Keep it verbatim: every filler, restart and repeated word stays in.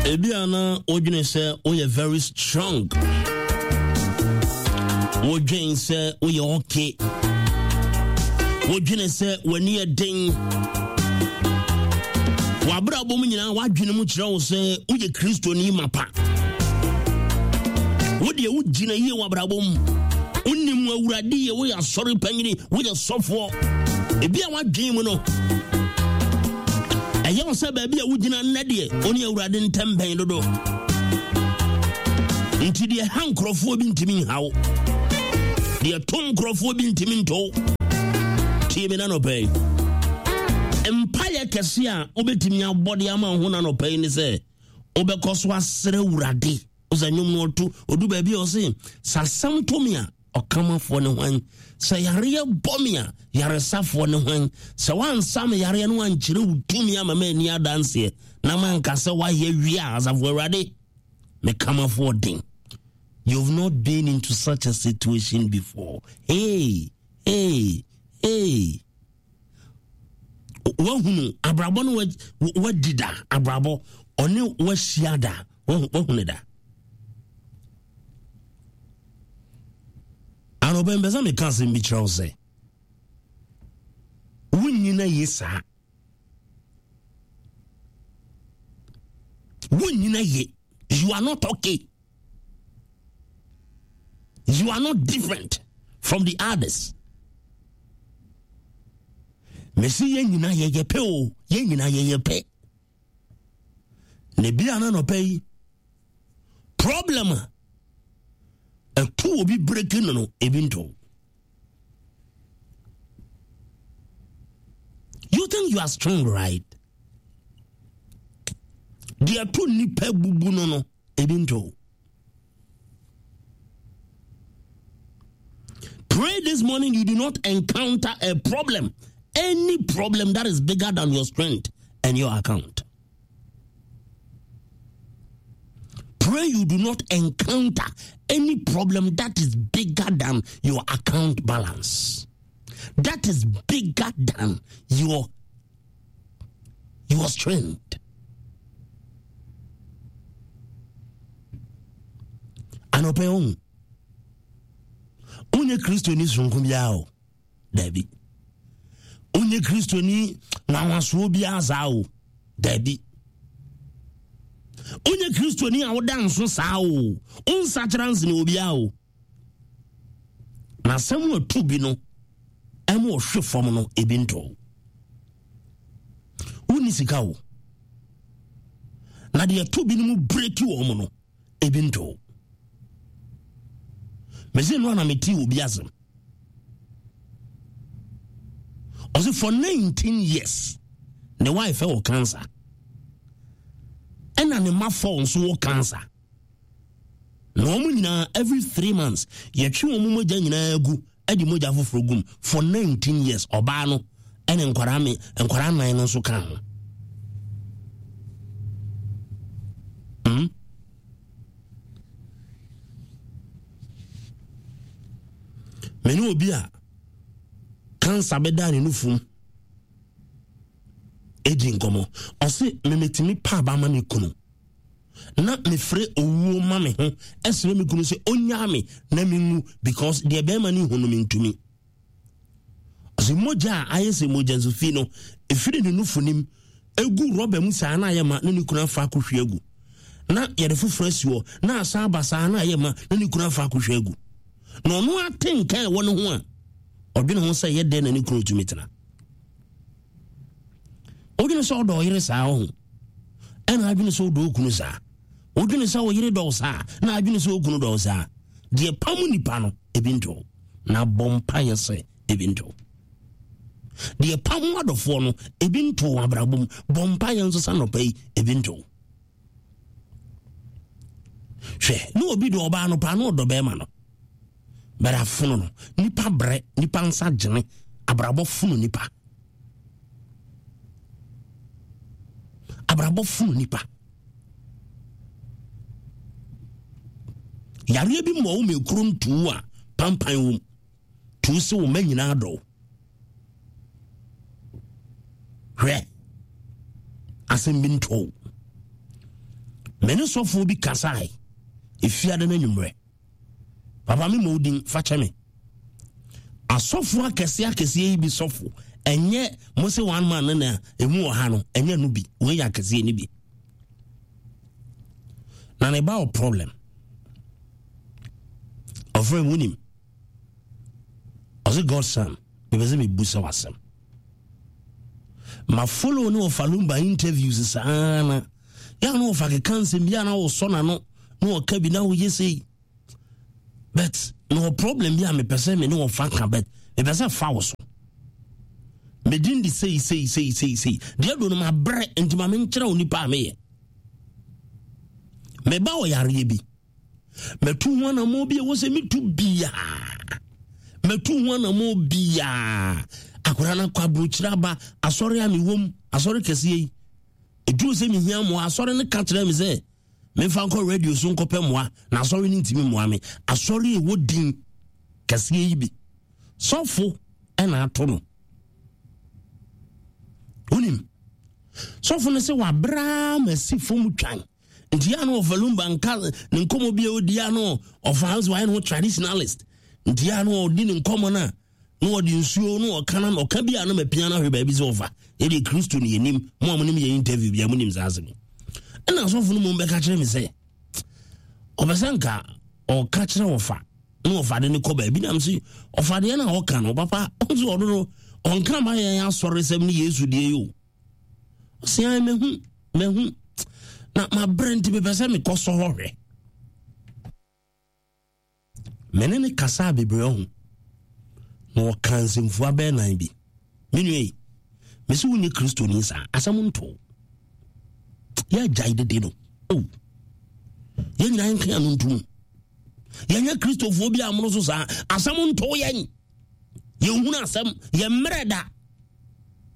Ebi ana wodwene sɛ woyɛ very strong. Wodwene sɛ woyɛ okay. Wodwene sɛ w'ani yɛ den. W'abrabɔ mu nyinaa w'adwene mu kyerɛ wo sɛ woyɛ Kristoni mapa. Wodeɛ wogyina yie w'abrabɔ mu. Wonim Awurade yie, woyɛ asɔre panyini, woyɛ sɔfoɔ. Ebi a w'adwene mu no, ɛyɛ wo sɛ baabi a wogyina nnɛ deɛ, wo ne Awurade ntɛm bɛn dodo. Nti deɛ ha nkurɔfoɔ bi ntumi nha wo. Deɛ to nkurɔfoɔ bi ntumi nto wo. Tie me nanɔpɛ yi. Mpaeɛ kɛse a wobɛtumi abɔ de ama wo ho nanɔpɛ yi ne sɛ wobɛkɔ so asrɛ Awurade. Wo sɛ nnwom no ɔto, ɔdu baabi a ɔse, sɛ asɛm to me a, ɔkamafoɔ ne hwan? Sɛ yareɛ bɔ me a, yaresafoɔ ne hwan? Sɛ woansa me yareɛ no ankyerɛ wo tumi ama m'ani adanseɛ, na manka sɛ woayɛ wie a, asafo Awurade, me kamafoɔ den. You've not been into such a situation before. Hey, hey, hey. Wahunu abrabɔ no wadi da, abrabɔ ɔne wahyia da, wahunu da. Anɔpɛ mpɛ sɛ meka asɛm bi kyerɛ wo sɛ wonyina ye saa. Wonyina ye. You are not okay. You are not different from the others. Mesi yɛn nyinaa yɛyɛ pɛ o, yɛn nyinaa yɛyɛ pɛ. Ne bia na nɔpɛ yi problem a ɛto obi breaking no no ebi nto. You think you are strong, right? Deɛ ɛto nipa bubu no no ebi nto. Pray this morning you do not encounter a problem, any problem that is bigger than your strength and your account. Pray you do not encounter any problem that is bigger than your account balance. That is bigger than your, your strength. Anɔpɛ ohun. Onye Kristo ni sonko biara o. Dabi. Onye Kristo ni nwanwasoɔ biara saa o. Dabi. Onye Kristo ni a woda nso saa o. Onsakyera nsene obiara o. Na asɛm a ɛto bi no, ɛma ɔhwe fam no, ebi ntɔ. Wonni sika o. Na deɛ ɛto bi no mu breki wɔn no, ebi ntɔ. Mese no ana mete obi asɛm. Ɔse for nineteen years, ne wife wɔ cancer. Ɛna ne mma four nso wɔ cancer. Na wɔn nyinaa every three months, yɛtwe wɔn mogya nyinaa gu, ɛde mogya foforɔ gum for nineteen years. Ɔbaa no ɛne nkwadaa me, nkwadaa nnan no nso ka ho. Hmm? Mene obi a cancer bɛda ne nufum edi nkɔmɔ. Ɔse memetumi pa aba ma me kunu. Na mefrɛ owuo ma me ho ɛsrɛ me kunu sɛ onyaa me na menwu because deɛ bɛrima ne hu no mentumi. Ɔse mogya a ayɛ sɛ mogya nso fi no ɛfiri ne nufu nim egu rɔba mu saa na ayɛ ma na ne kunu afa akɔhwie agu. Na yɛde foforɔ asi hɔ na asan aba saa na ayɛ ma na ne kunu afa akɔhwie agu. Na ɔno ate nka ɛwɔ ne ho a ɔdwene ho sɛ yɛ dɛn na ne kunu tumi tena. Wodwene sɛ ɔdɔ ɔyere saa ɔho, ɛna adwene sɛ ɔdɔ okunu saa. Wodwene sɛ ɔyere dɔ saa na adwene sɛ okunu dɔ saa. Deɛ pam nipa no ebi nto. Na bɔ mpaeɛ sɛ ebi nto. Deɛ pam adɔfoɔ no ebi nto wɔ abrabɔ mu. Bɔ mpaeɛ nso sa nɔpɛ yi ebi nto. Hwɛ, ne obi dɔ ɔbaa no paa na ɔdɔ bɛrima no. Bɛrɛ afono no, nipa brɛ, nipa nsa gyene, abrabɔ fono nipa. Abrabɔ fono nipa. Yareɛ bi mmɔ wo ma ekuro ntuu a pampan wom. Tuu sɛ wo mma nyinaa dɔ wo. Hwɛ, asɛm bi ntɔ wo. Me ne sɔfoɔ bi kasae efiade no anwummerɛ. Papa me ma odin fa kyɛ me. Asɔfoɔ akɛseɛ akɛseɛ yi bi sɔfo ɛnyɛ mo se one man no na emu wɔ ha no, ɛnyɛ no bi, wei yɛ akɛseɛ no bi. Na ne ba wɔ problem. Ɔfrɛ mu nim. Ɔse Godson, mepɛ sɛ mebu sɛ wasɛm. Ma follow ne ɔfa Lumba interviews saa na yɛ na ɔfa keka nsɛm bi a na wɔsɔ n'ano na ɔka bi na woyɛ sei, but na wɔ problem bi a mepɛ sɛ me ne wɔfa ka, but mepɛ sɛ fa wo so. Medin de sei sei sei sei sei deɛ do no mabrɛ, nti ma menkyerɛ wo nipa a meyɛ. Meba wɔ yareɛ bi, matu ho anammɔ bi a ɛwɔ sɛ metu biaa, matu ho anammɔ biaa. Akwadaa no akɔ aburokyire aba asɔre a mewɔ asɔre kɛseɛ yi, ɛduru sɛ mehia mmoa, asɔre no ka kyerɛ me sɛ memfa nkɔ radio so nkɔpɛ mmoa, na asɔre no ntumi mmoa me. Asɔre a ɛwɔ din kɛseɛ yi bi sɔfo ɛna ato no. Wonim sɔfo no sɛ wabraa ma si fam twan, nti yɛ no ɔfa Lumba nka ne nkɔmmɔ bi a ɔdi a no ɔfa sɛ wayɛ no ho traditionalist, nti yɛ no ɔdi ne nkɔmmɔ no a na ɔde nsuo na ɔka na ɔka bi a na mapia no ahwɛ baabi sɛ ɔfa yɛde Kristo ne yɛnim mo a monim yɛ interview bia monim saa asɛm. Ɛna asɔfo no mmom bɛka kyerɛ me sɛ ɔpɛ sɛ nka ɔka kyerɛ ɔfa na ɔfa de ne kɔ baabi, nam sɛ ɔfa deɛ na ɔka no papa ɔnso ɔno no ɔnka ma yɛn asɔre sɛm ne Yesu deɛ yi o. Ɔsɛ mahu mahu na mabrɛ, nti mepɛ sɛ mekɔ sɔ hɔ hwɛ. Mene ne kasa bebree ho na ɔka nsɛmfua bɛɛ nan bi. Me nua yi, mesi wonyɛ Kristoni saa asɛm nto yɛagyae dede no o. Yɛn nyinaa yɛnka ano ntom, yɛnyɛ Kristofoɔ bi amono so saa asɛm nto yɛn, yɛnhunu asɛm, yɛmmerɛ da.